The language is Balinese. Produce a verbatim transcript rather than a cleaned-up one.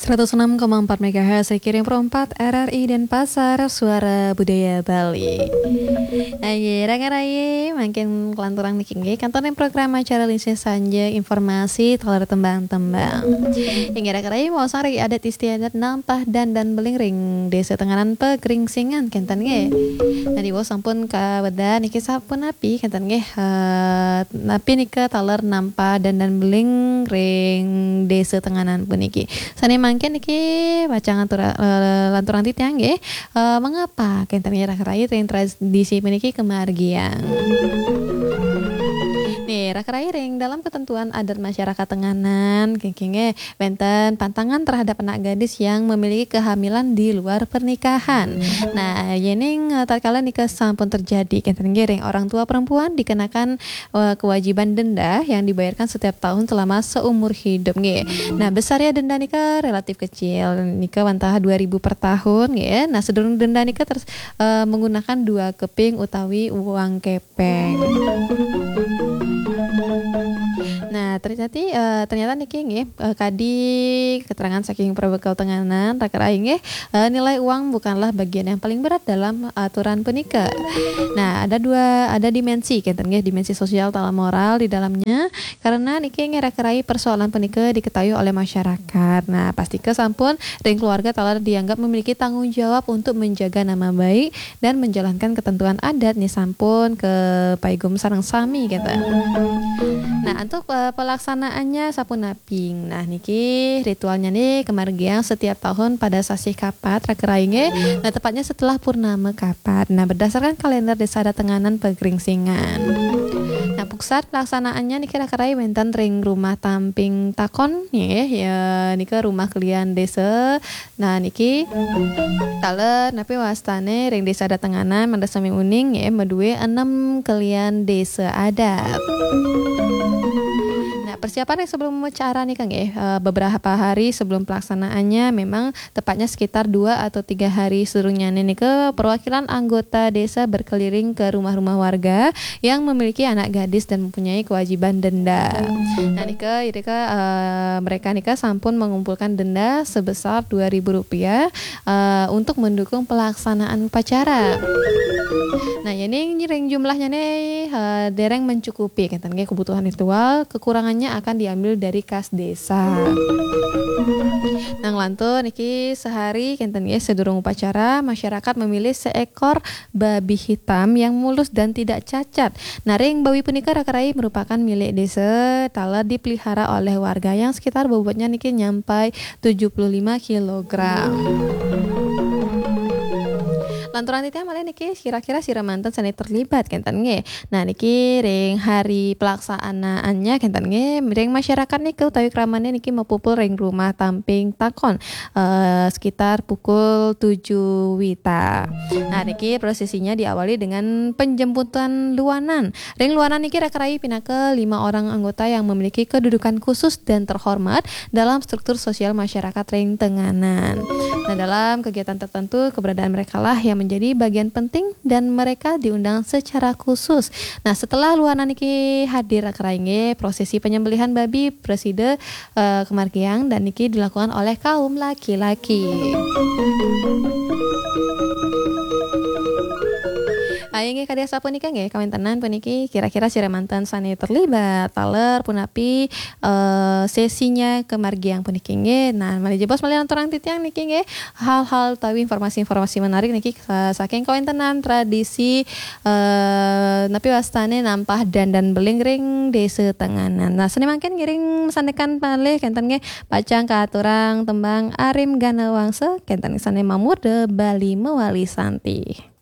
Ratus enam koma empat megahertz, Riki ring Pro empat R R I Denpasar, Suara Budaya Bali. Aye, raka rayi, mangkin kalanturang niki nggih, kantor ring program acara Lingsir Sanja, informasi taler tembang-tembang. Inggih raka rayi, maosang ring adat istiadat nampah dandan beling ring Desa Tenganan Pegringsingan, kenten nggih. Nah, diwaos sampun kawedah niki sapunapi, kenten nggih. Eh, napi nika taler nampah dandan beling ring Desa Tenganan puniki. Sane mangkin niki pacang atura-, eh, lanturang titiang nggih. Eh, mengapa kenten nggih raka rayi ring tradisi puniki kemargiang? Nih, raka rayi ring dalam ketentuan adat masyarakat Tenganan, nggih, nggih, wenten pantangan terhadap anak gadis yang memiliki kehamilan di luar pernikahan. Nah, yening, eh, tatkala nika sampun terjadi, kenten nggih ring orang tua perempuan dikenakan, eh, kewajiban denda yang dibayarkan setiap tahun selama seumur hidup nggih. Nah, besarnya denda nika relatif kecil, nika wantah dua ribu per tahun nggih. Nah, sedurung denda nika ter-, eh, menggunakan dua keping utawi uang kepeng. Nah, ternyata, eh, ternyata niki nggih, eh, kadi keterangan saking Perbekel Tenganan, raka rayi nggih, eh, nilai uang bukanlah bagian yang paling berat dalam aturan punika. Nah, ada dua, ada dimensi, kenten nggih, dimensi sosial taler moral di dalamnya, karena niki nggih raka rayi persoalan punika diketahui oleh masyarakat. Nah, pastika sampun ring keluarga taler dianggap memiliki tanggung jawab untuk menjaga nama baik dan menjalankan ketentuan adat nih sampun kapaigum sareng sami, kenten. Nah, untuk, eh, pelaksanaannya sapunaping. Nah, niki ritualnya nih kemargiang setiap tahun pada sasih Kapat, raka rayi nggih. Nah, tepatnya setelah purnama Kapat. Nah, berdasarkan kalender Desa Adat Tenganan Pegringsingan. Nah, pusat pelaksanaannya niki raka rayi wenten ring Rumah Tamping Takon nggih, ya, nika rumah kelian desa. Nah, niki taler napi wastane ring Desa Adat Tenganan, mangda sami uning nggih, madue enem kelian desa adat. Nah, persiapan yang sebelum upacara nika nggih, eh, beberapa hari sebelum pelaksanaannya, memang tepatnya sekitar dua atau tiga hari sedurungnyané nika, perwakilan anggota desa berkeliling ke rumah-rumah warga yang memiliki anak gadis dan mempunyai kewajiban denda. Nah, nika, nika, eh, mereka nika sampun mengumpulkan denda sebesar dua ribu rupiah, eh, untuk mendukung pelaksanaan upacara. Nah, yening ring jumlahnyané, eh, dereng mencukupi, kenten nggih, kebutuhan ritual, kekurangannya akan diambil dari kas desa. Nah, nglantur niki sehari, kenten nggih, sedurung upacara, masyarakat memilih seekor babi hitam yang mulus dan tidak cacat. Nah, ring babi punika raka rayi merupakan milik desa, taler dipelihara oleh warga yang sekitar bobotnya niki nyampai tujuh puluh lima kilogram. Lanturang titiang malih niki, kira-kira sira manten sane terlibat, kenten nggih. Nah, niki ring hari pelaksanaannya, kenten nggih, ring masyarakat niki utawi kramane niki mapupul ring Rumah Tamping Takon, eh, sekitar pukul tujuh wita. Nah, niki prosesinya diawali dengan penjemputan luanan. Ring luanan niki raka rayi pinaka lima orang anggota yang memiliki kedudukan khusus dan terhormat dalam struktur sosial masyarakat ring Tenganan. Nah, dalam kegiatan tertentu, keberadaan mereka lah yang menjadi bagian penting dan mereka diundang secara khusus. Nah, setelah luanan niki hadir raka rayi nggih, prosesi penyembelihan babi presida, eh, kemargiang dan niki dilakukan oleh kaum laki-laki. Ayo nggih, kadi asapunika nggih, kawentenan puniki kira-kira sira manten sane terlibat, taler punapi, eh, sesinya kemargiang puniki nggih. Nah, malih jebos malih lanturang titiang niki nggih, hal-hal utawi informasi-informasi menarik niki, eh, saking kawentenan tradisi, eh, napi wastane nampah dandan beling ring Desa Tenganan. Nah, sane mangkin ngiring sandekan malih kenten nggih, pacang katurang tembang Arim Gana Wangsa, kenten sane mamurda Bali Mawali Santi.